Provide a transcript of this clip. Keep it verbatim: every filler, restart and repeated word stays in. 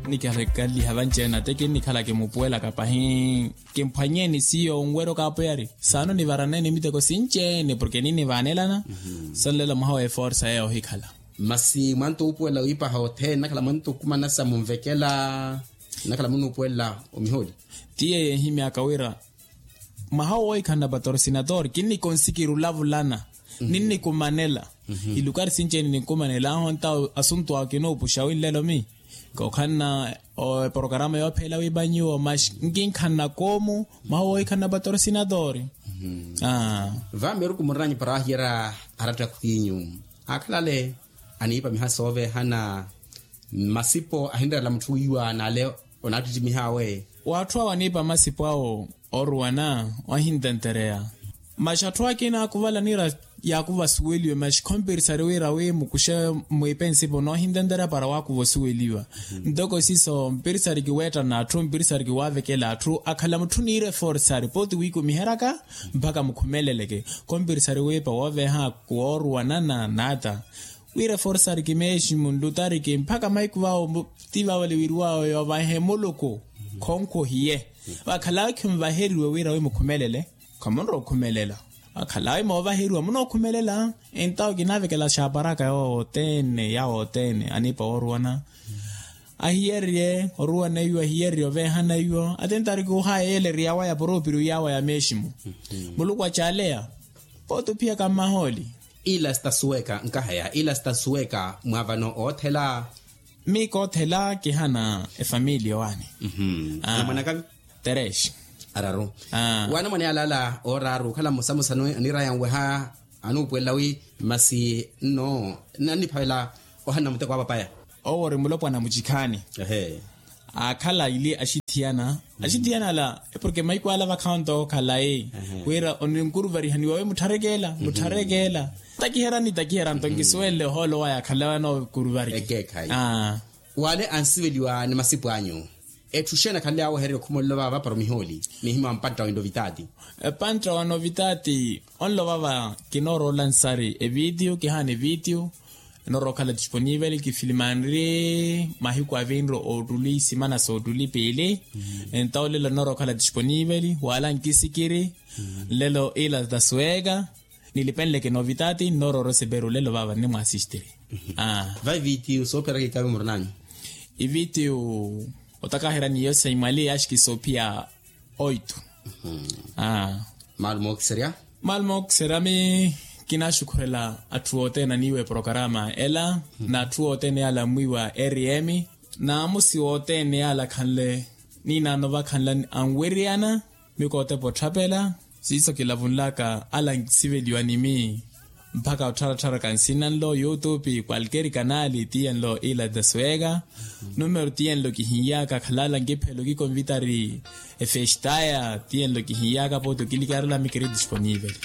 Nikihalakaliha vanci-ene ate kinnikhala kimupuwelaka pahi. Kimphwanyeeni siyo onwerya okapoyari saano nivaraneni miteko sinci-ene porke ninnivaanelana. Sonlelo mwaha wa eforsa eyo ohikhala. Masi mwantu ohupuwela wiipaha othene nakhala mwantu okumana sa munvekela. Nakhala munuupuwela omihooli. Tiye yeehimyaka wira mwaha wowo ohikhana patrosinatori kinnikonsikiri olavulana. Ninnikumanela ilukari sinci-ene ninnikumanela aho ntawo asuntu awo kinoopuxa winlelo mi kokhanna eporokarama yoopheela wiipa nyuwo maxi nkinkhanna koomu. Mwaha wowo ohikhana patrosinatori. Vameeruku murina nyupa raahiyerya arattakhu inyu akhalale aniipa miha sooveehana. Masipo ahinrerela mutthu wiiwa n'ale onaattittimihawe. Waatthu awo aniipa masipo awo oruwana wahintentereya. Maxi atthu akina akuvala niira yaakuva osuweliwa maxi khompirisari wira wi mukuxe mwiipe nsipo noohintentereya para waakuva osuweliwa. Ntoko siiso mpirisari kiweettana atthu mpirisari kiwaavekela atthu akhala mutthu niira eforsari pooti wiikumiheryaka mpakha mukhumeleleke. Khompirisari wiipa wooveeha kuwooruwanana n'ata wira eforsari kimeeximu nlutariki mpakha mahiku vawo ti vavale wiriwawe yoovaihe muluku. Khonkhu ohiye vakhala awe khimuvaheriwe wira wi mukhumelele. Khamunrowa okhumelela vakhala awe moovaheriwa munookhumelela. Entawo kinaavekela xaaparaka yawo othene yawo othene aniipa wooruwana ahiyererye oruwana iwo ahiyererye oveehana iwo atentari kuuhaya yeeleriya waya poropiriu yawa ya meeximu. Muluku acaaleya pooti ophiyaka mmahooli. Ila sitasuweka nkahaya ila sitasuweka mwa vano oothela. Miiko oothela kihana efamiliya owaani. Namwanakavi terex araru. Waana mwaneya alaala ooraru okhala mmosamosa aniiraya nweha anuupuwelela wi masi nno nanniphavela ohanna muteko wa papaya. Owo ori mulopwana mucikhaani. Aakhala ili axithiyana axithiyana ala porke mahiku ala vakhawo nto khalayi wira oninkuruvarihaniwa wi muttharekeela muttharekeela. Takiherani takiherani nto nkisuwenle ohoolo waya akhalawe anookuruvariki. Wale ansiveliwa ni masipu anyu. Etthu xeeni akhanle awehererya okhumolelo vava para omihooli nihimya wa mpantta wa novitaati. Epantta wa novitaati onlo vava kinoorola nsari evitiyu kihaana evitiyu. Enoorookhala disponiveli kifilimanri mahiku avinru ottuli simana soottuli piili. Entawo lelo nnoorookhala disponiveli wala nkisikiri lelo ila tasuweka. Nilipenleke novitaati nnoorooro seperu lelo vava nnimwaasistiri. Vai vitiyu soopheraka ikavi murunanyu. Ivitiyu otakaherya niyo saimwali yaaxikisa ophiya oitu. Maalo mookiserya. Maalo mookiserya mi kinaaxukhurela atthu othene aniiwa eporokarama ela n'atthu othene yaala ammwiiwa rm n'amusi wothene yaala akhanle ninaano vakhanle anweriyana. Mikootepa otthapela siiso kilavunlaka ala nkisiveliwa ni mi mpakha ottharatthara kansina nlo youtube kwalkeri kanali tiyenlo ila tasuweka. Numero tiyenlo kihinyaaka khalala nkiphelo kikonvitari efestaya tiyenlo kihinyaaka pooti okilikarela mikiri disponiveli.